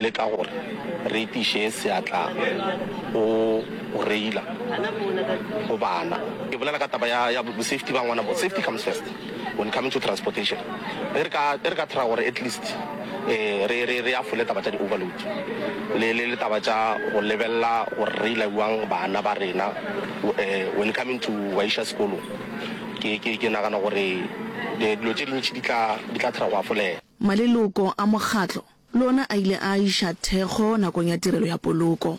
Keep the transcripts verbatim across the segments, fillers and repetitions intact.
Leka gore re etiše seatla go go reila go bana. Ke bolela ka taba ya ya safety ba ngwana bo safety comes first when coming to transportation. Ge re ka ge re ka try gore at least eh re re re afole taba tša di overload le le le taba tša go lebelela gore reila bjang bana ba rena eh when coming to wa iša sekolong ke ke ke nagana gore dilo tše dintši di tla di tla try go afolega. Maleloko a mokgatlo le ona a ile a iša thekgo nakong ya tirelo ya poloko.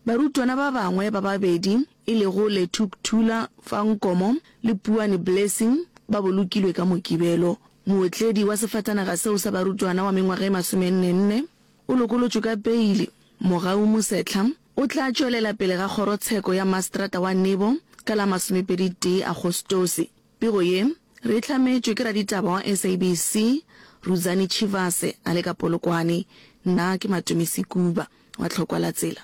Barutwana ba bangwe ba babedi e lego Lethukuthula Fankomo le Puane Blessing ba bolokilwe ka Mokibelo. Mootledi wa sefatanaga seo sa barutwana wa mengwaga e masomenne-nne o lokolotšwe ka peili. Mogau Mosehla o tla tšwelela pele ga kgorotsheko ya maseterata wa Nebo ka la masomepedi-tee Agostose. Pego ye re e hlametšwe ke raditaba wa S A B C Rudzani Tshivhase a le ka Polokwane. Nna ke Matome Sekuba wa Tlhokwa la Tsela.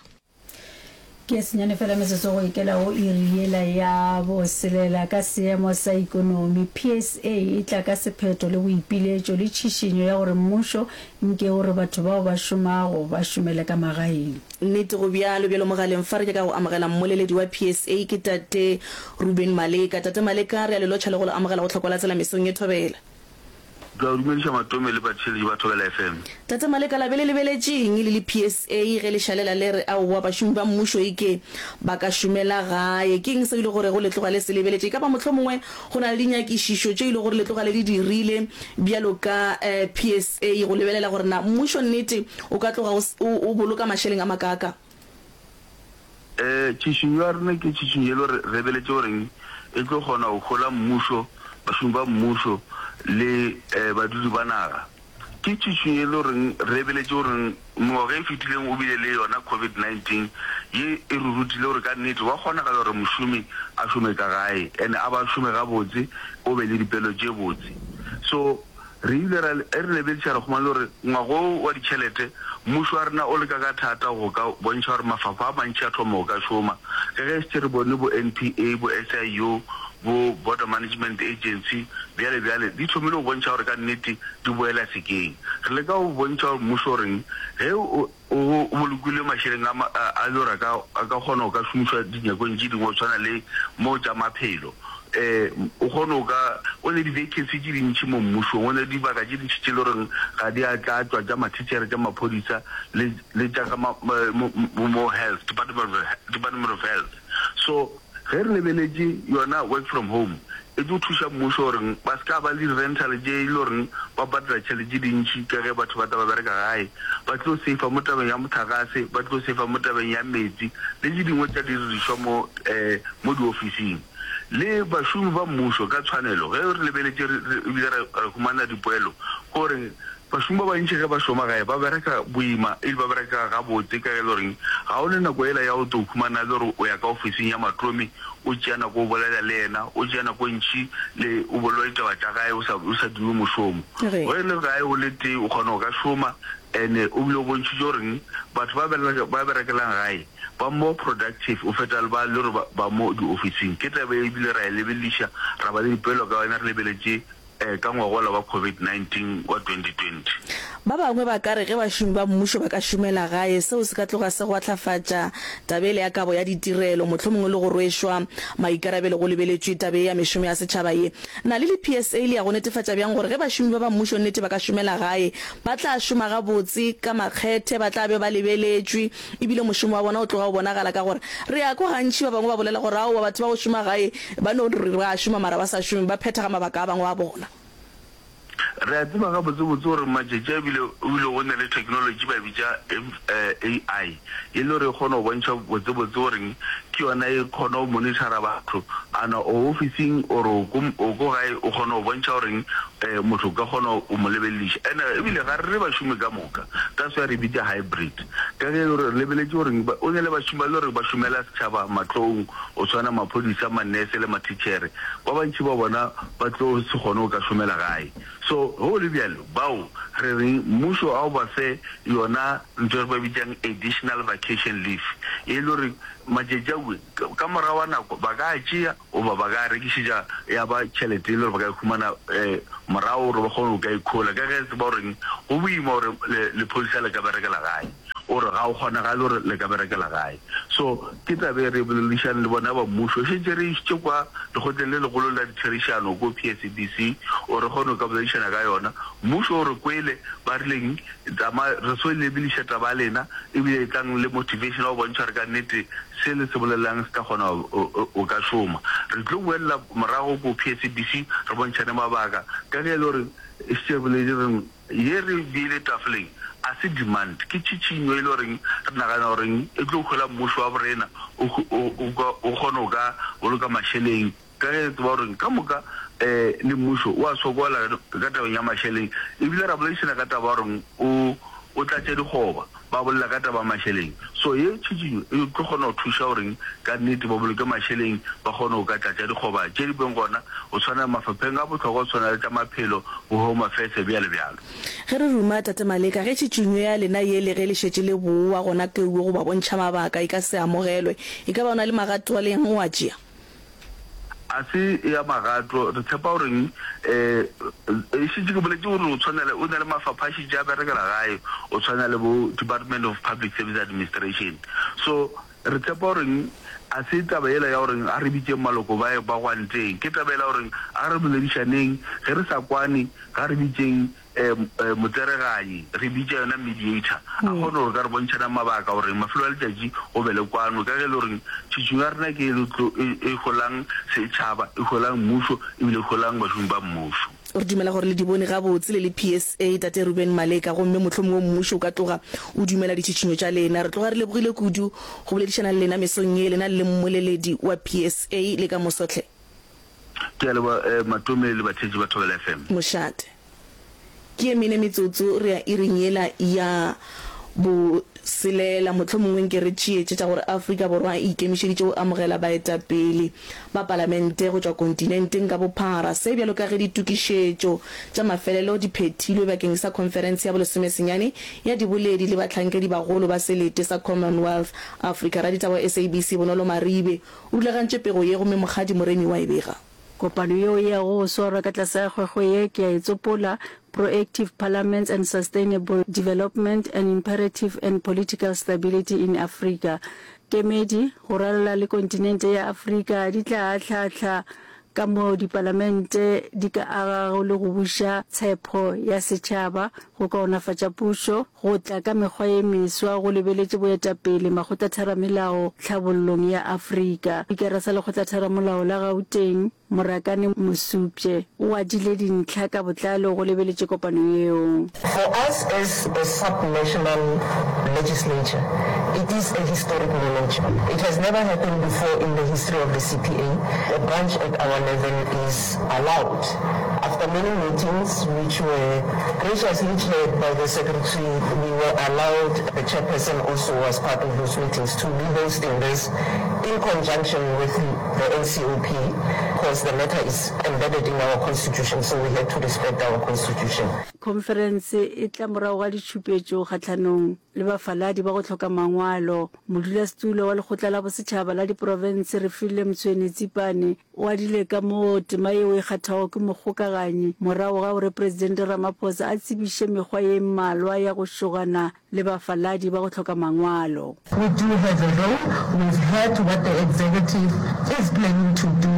Ke senyane fela metsotso go ikela go iri yela ya boselela. Ka seemo sa ikonomi, P S A e tla ka sephetho le boipiletšo le tšhišinyo ya gore mmušo nke o re batho bao ba šomago ba šomele ka magaeng. Nnete go bjalo. Bjalo mogaleng fa re nyaka go amogela mmoleledi wa P S A, ke Tate Ruben Maleka. Tate Maleka, re a le lotšha le go le amogela go Tlhokwa la Tsela mesong ye, thobela. Ke a dumediša Matome le batheeletši ba Thobela F M. Tate Maleka, la be le lebeletšeng le le P S A ge le šalela le re aowa bašomi ba mmušo eke ba ka šomela gae? Ke eng seo e le gorego le tloga le se lebeletše? E ka ba mohlomongwe go na le dinyakišišo tše e le gore le tloga le di dirile bjalo ka P S A go lebelela gore na mmušo nnete o ka tloga o boloka mašeleng a makaaka? um Tšhišinyo ya rena ke tšhišinyo e le gore re lebeletše goreng e tlo kgona go hola mmušo, bašomi ba mmušo le um badudi ba naga. Ke tšhišinyo e le goreng re lebeletše goreng mengwaga e fetileng o bile le yona COVID nineteen ye e re rutile gore ka nnete wa kgonagala gore mošomi a šome ka gae and a ba šome gabotse, o be le dipelo tše botse. So re ile ra e re lebediša, re kgomane gore ngwago wa ditšhelete mmušo wa rena o leka ka thata go ka bontšha gore mafapha a mantši a thoma go ka šoma, ka ge šetše re bone bo N P A, bo S I U, bo Border Management Agency, bjale bjale di thomile go bontšha gore ka nnete di boela sekeng. Re leka go bontšha gore mmušo goreng ge o o bolokile mašeleng a a le gore a ka a ka kgona go ka šomišwa dinyakong tše dingwe go tshwana le mo tša maphelo, um o kgone go ka o ne di-vacancy tše dintšhi mo mmušong, o ne dibaka tše dintšhi tše le goreng ga di a tlatšwa, tša mathitšhere, tša maphodisa le le tša ka mo health department department of health. So ge re lebeletše yona work from home e tlo thuša mmušo goreng ba se ka ba le di-rental tše e le goreng ba patela tšhelete tše dintšhi, ka ge batho ba tla ba bereka gae, ba tlo safa mo tabeng ya motlakase, ba tlo safa mo tabeng ya metsi le tše dingwe tša didirišwa mo um mo diofising. Le bašomi ba mmušo ka tshwanelo, ge re lebeletše ebile re humana dipoelo gore bašomi ba bantši ge ba šoma gae ba bereka boima ebile ba bereka gabotse, ka ge e le goreng ga o ne nako ela ya go tlo humana le gore o ya ka ofising ya Matome, o tšea nako o bolela le yena, o tšea nako e ntšhi le o bolela ditaba tša gae, o sa o sa dire mošomo. Ge e le gae o le tee o kgona go ka šoma, and o bile o bontšhitše goreng batho ba ba berekelang gae ba more productive o feta le ba le gore ba mo diofising. Ke taba ebile ra e lebelediša, ra ba le dipoelo ka yona, re lebeletše um ka ngwagola wa COVID nineteen wa twenty twenty. Ba bangwe ba ka re ge bašomi ba mmušo ba ka šomela gae, seo se ka tloga se gwahlafatša taba ele ya kabo ya ditirelo, mohlomongwe le go rwešwa maikarabelo go lebeletšwe taba ye ya mešomo ya setšhaba ye. Na le le P S A le ya go netefatša bjang gore ge bašomi ba ba mmušo nnete ba ka šomela gae, ba tla šoma gabotse ka makgethe, ba tla be ba lebeletšwe ebile mošomo wa bona o tloga o bonagala, ka gore re ya kwa gantši ba bangwe ba bolela gore aowa, batho ba go šoma gae ba no re ba šoma mara ba sa šome, ba phethaga mabaka a bangwe a bona? Re a tseba gabotsebotse gore matšatši a ebile ebile go ne le technology ba bitša A I, e le gore e kgona go bontšha botsebotse goreng ke yona e kgona go monitora batho ana o ofising or o ko gae, o kgona go bontšha goreng um motho o ka kgona go mo lebelediša. And ebile ga re re bašomi ka moka, that's why re bitša hybrid, ka ge e le gore re lebeletše goreng o ne le bašomi ba le gore ba šomela setšhaba matlong, o tshwana maphodisa, manese le mathitšhere, ba bantši ba bona ba tlo se kgone go ka šomela gae. So ge o le bjalo, bao re reng mmušo a o ba fe yona ntho e re ba bitsang additional vacation leave, e le gore matšatši aue ka morago wa nako ba ka tšea goba ba ka rekišetša ya ba tšhelete e le gore ba ka e humana um morago gore ba kgone go ka ikhola, ka ge tseba goreng go boima gore lephodisa le ka berekela gae. Ga go kgonagale gore le ka berekela gae. So ke taba e re e boledišane le bona ba mmušo. Šetše re išitše kwa lekgotleng le legolo la ditherišano ko P S A B C gore re kgone go ka boledišana ka yona. Mmušo o re kwele, ba rileng tsamaya re so lebeliša taba ya lena, ebile e tlang le motivation ya go bontšha gore ka nnete se le se bolelang se tla kgona go ka šoma. Re tlo boelela morago ko P S A B C re bontšhane mabaka ka ge e le gore e šetše re boletše re ye re beile tafoleng a se demand, ke tšhitšhinyo e le goreng re nagana goreng e tlo hola mmušo wa borena o kgone go ka boloka mašeleng ka ge re tseba gore ka moka um le mmušo o a sokola ka tabeng ya mašeleng. Ebile ra boledišana ka taba ya gore o o tlatše dikgoba, ba bolela ka taba ya mašeleng. So ye tšhitšhinyo e tlo kgona go thuša goreng ka nnete ba boloke mašeleng, ba kgone go ka tlatša dikgoba tše di beng gona go tshwana mafapheng a bohlokwa go tshwana le tša maphelo, bo Home Affairs bjalo bjalo. Ge re ruma Tate Maleka, ge tšhitšhinyo ya lena ye le ge le šetše le boa gona keuwe go ba bontšha mabaka e ka se amogelwe, e ka ba o na le magato a le yang o a tšea? A se ya magato. Re tshepa goreng um e šetše ke boletše gore o tshwana le o na le mafapha a šetše a berekela gae, o tshwana le bo Department of Public Service Administration. So re tshepa goreng a se taba yela ya goreng a re bitšeng maloko ba ba gwanteng, ke taba yela ya goreng a re boledišaneng, ge re sa kwane ga re bitšeng um motsereganyi, re bitša yona mediator, a kgone gore ka re bontšhana mabaka gore mafelo a letšatši go be le kwano, ka ge e le gore tšhitšhinyo ya rena ke e e holang setšhaba, e holang mmušo ebile e holang bašomi ba mmušo. Re dumela gore le di bone gabotse le le P S A, Tate Reuben Maleka, gomme mohlomongwe mmušo o ka tloga o dumela ditšhitšhinyo tša lena. Re tloga re lebogile kudu go boledišana le lena mesong ye, lena le le mmoleledi wa P S A. Le ka moso hle. Ke a leboga Matome le batheetši ba Thobela F M. Mošate. Ke ye mene metsotso re ya iring yela ya boselela. Mohlomongwe nke re tšeetše tša gore Afrika Borwa e ikemišeditše go amogela baetapele ba palamente go tšwa kontinenteng ka bophara. Se bjalo ka ge ditokišetšo tša mafelelo di phethilwe bakeng sa khonferense ya bolesomesenyane ya diboledi le bahlankedibagolo ba selete sa Commonwealth Afrika. Raditaba wa S A B C Bonolo Maribe o rulagantše pego ye gomme Mokgadi Moremi wa e bega. Kopano yeo e yago go swarwa ka tlase ga kgwekgwe ye ke a e tsopola, Proactive Parliaments and Sustainable Development, An Imperative and Political Stability in Africa. Kemedi go ralala le kontinente ya Afrika di tla ahlaahla ka moo dipalamente di ka agago le go buša tshepho ya setšhaba, go kaonafatša pušo, go tla ka mekgwa ye meswa go lebeletše boetapele makgotlatheramelao tlhabollong ya Afrika. Spikara sa Lekgotlatheramolao la Gauteng, Morakane Mosupje, o adile dintlha ka botlalo go lebeletše kopano yeo. For us as a sub-national legislature, it is a historic moment. It has never happened before in the history of the C P A. A branch at our level is allowed. After many meetings, which were graciously chaired by the secretary, we were allowed, the chairperson also was part of those meetings, to be hosting this in conjunction with the N C O P, because the matter is embedded in our constitution, so we had to respect our constitution. Khonferense e tla morago ga ditšhupetšo kgahlanong le bafaladi ba go hloka mangwalo. Modulasetulo wa Lekgotla la Bosetšhaba la Diprofense Refilwe Mtsweni-Tsipane o adile ka moo tema yeo e kgathago ke mokgokaganyi morago ga gore Presidente Ramaphosa a tsebiše mekgwa ye mmalwa ya go šogana le bafaladi ba go hloka mangwalo. We do have a role, we've heard what the executive is planning to do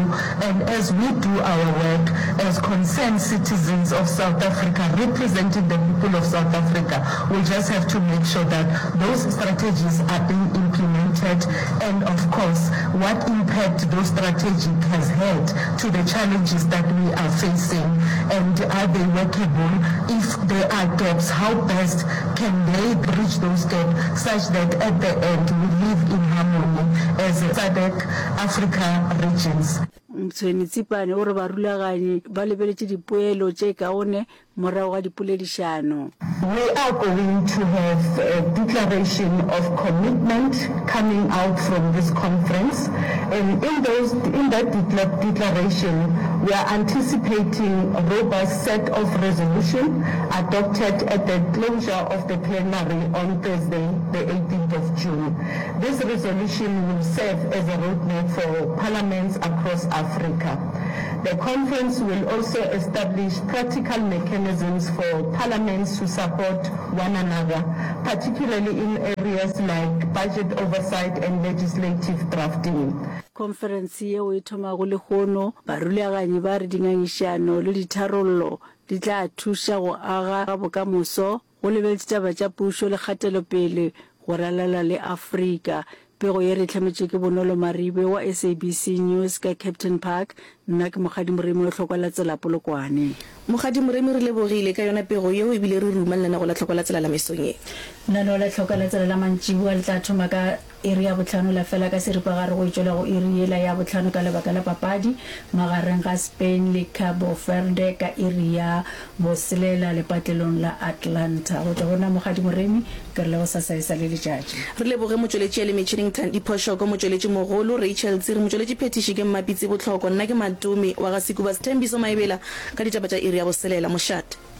and as we do our work as concerned citizens of South Africa representing the people of South Africa, we just have to make sure that those strategies are being implemented and of course what impact those strategies has had to the challenges that we are facing and are they workable, if there are gaps, how best can they bridge those gaps such that at the end we live in harmony as SADC Africa regions. Mtshweni-Tsipane o re barulaganyi ba lebeletše dipoelo tše kaone morago ga dipoledišano. We are going to have a declaration of commitment coming out from this conference and in those, in that declaration we are anticipating a robust set of resolution adopted at the closure of the plenary on Thursday the eighteenth of June. This resolution will serve as a roadmap for parliaments across Africa. The conference will also establish practical mechanisms for parliaments to support one another, particularly in areas like budget oversight and legislative drafting. Khonferense yeo e thomago lehono, barulaganyi ba re dingangišano le ditharollo di tla thuša go aga bokamoso go lebeletše taba tša pušo le kgatelopele go ralala le Afrika. Pego ye re e hlametšwe ke Bonolo Maribe wa SABC News ka Kempton Park. Nna ke Mokgadi Moremi wa Tlhokwa la Tsela Polokwane. Mokgadi Moremi re lebogile ka yona pego yeo ebile re ruma lenanego la Tlhokwa la Tsela la mesong ye. Lenaneo la Tlhokwa la Tsela la mantšiboa le tla thoma ka iri ya bohlano la fela ka seripagare go itšwela go iri yela ya bohlano ka lebaka la papadi magareng ga Spain le Cabo Verde ka iri ya boselela lepatlelong la Atlanta. Go tšwa go nna Mokgadi Moremi, ke re le gosasa e sa le letšatši. Re leboge motšweletši ya le metšhineng Thandi Phoshoko, motšweletši mogolo Rachel Tsiri, motšweletši phethiši ke Mmapitsi Bohloko, nna ke Matome wa ga Sekuba Sthembiso Maebela ka ditaba tša iri ya boselela. Mošate.